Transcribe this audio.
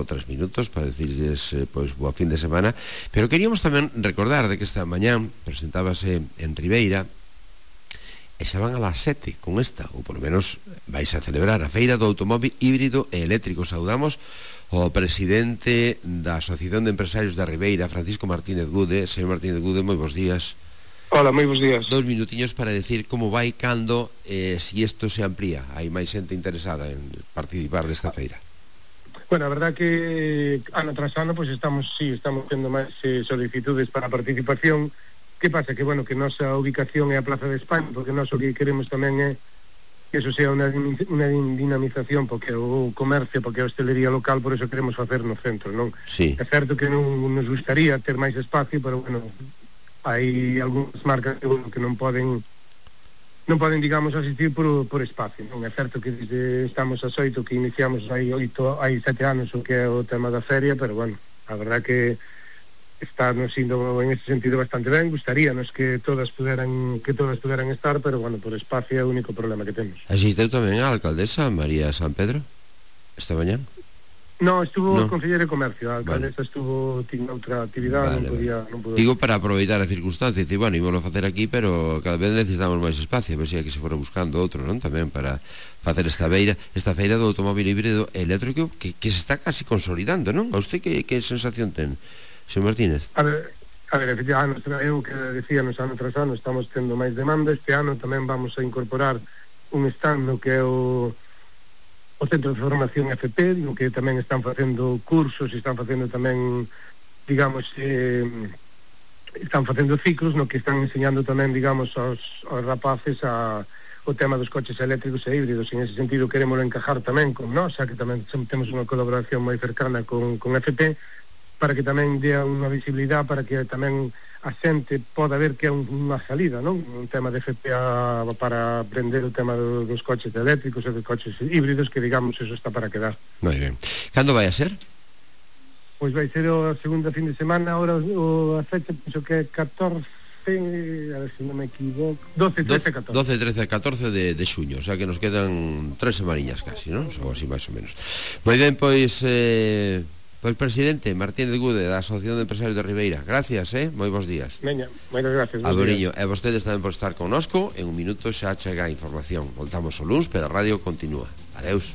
3 minutos para decirles pois boa fin de semana, pero queríamos tamén recordar de que esta mañán presentábase en Ribeira e xa van a las 7 con esta, ou por lo menos vais a celebrar a Feira do Automóvil Híbrido e Eléctrico. Saudamos o presidente da Asociación de Empresarios da Ribeira, Francisco Martínez Gude. Señor Martínez Gude, moi bons días. Hola, moi bons días. 2 minutiños para decir como vai, cando, si isto se amplía. Hai máis xente interesada en participar desta feira. Bueno, a verdad que ano tras ano pues estamos tendo máis solicitudes para a participación. Que pasa? Que, bueno, que nosa ubicación é a Plaza de España, porque nós o que queremos tamén é que eso sea unha dinamización, porque o comercio, porque a hostelería local, por eso queremos facer no centro, non? Sí. É certo que non nos gustaría ter máis espacio, pero, bueno, hai algúnas marcas que, bueno, que non poden, digamos, asistir por espacio, non? É certo que desde estamos a 8, que iniciamos hai 7 anos o que é o tema da feria, pero, bueno, a verdad que está nos indo en ese sentido bastante ben. Gustaríanos que todas puderan estar, pero, bueno, por espacio é o único problema que temos. Asisteu tamén a alcaldesa María San Pedro esta mañán? No, estuvo o concelleiro de Comercio. A alcaldesa tiña outra actividade, non pudo. Digo, para aproveitar a circunstancia, dice, bueno, ímolo facer aquí, pero cada vez necesitamos máis espacio, a ver se aquí se fora buscando outro, non? Tamén para facer esta feira do automóvil híbrido eléctrico que se está casi consolidando, non? A usted que sensación ten, señor Martínez? A ver, efectivamente, eu que decíamos ano tras ano estamos tendo máis demanda. Este ano tamén vamos a incorporar un stand no que é o Centro de Formación FP, no que tamén están facendo cursos e están facendo tamén, digamos, están facendo ciclos no que están enseñando tamén, digamos, aos rapaces o tema dos coches eléctricos e híbridos. En ese sentido queremos encajar tamén con nós, xa que tamén temos unha colaboración moi cercana con FP, para que tamén dea unha visibilidade, para que tamén a xente poda ver que é unha salida, non? Un tema de FPA para aprender o tema dos coches eléctricos e dos coches híbridos, que, digamos, eso está para quedar. Moi ben. Cando vai a ser? Pois vai ser a segunda fin de semana. Ahora a fecha penso que é 14, a ver se non me equivoco, 12, 13, 14. 12, 13, 14 de xuño, o sea que nos quedan 3 semaniñas casi, non? Ou así máis ou menos. Moi ben, pois presidente Martínez Gude da Asociación de Empresarios de Ribeira, gracias, moi bons días. Veña, moitas gracias. Adoriño, e vostedes tamén por estar connosco. En un minuto xa chega a información. Voltamos o luns, pero a radio continúa. Adeus.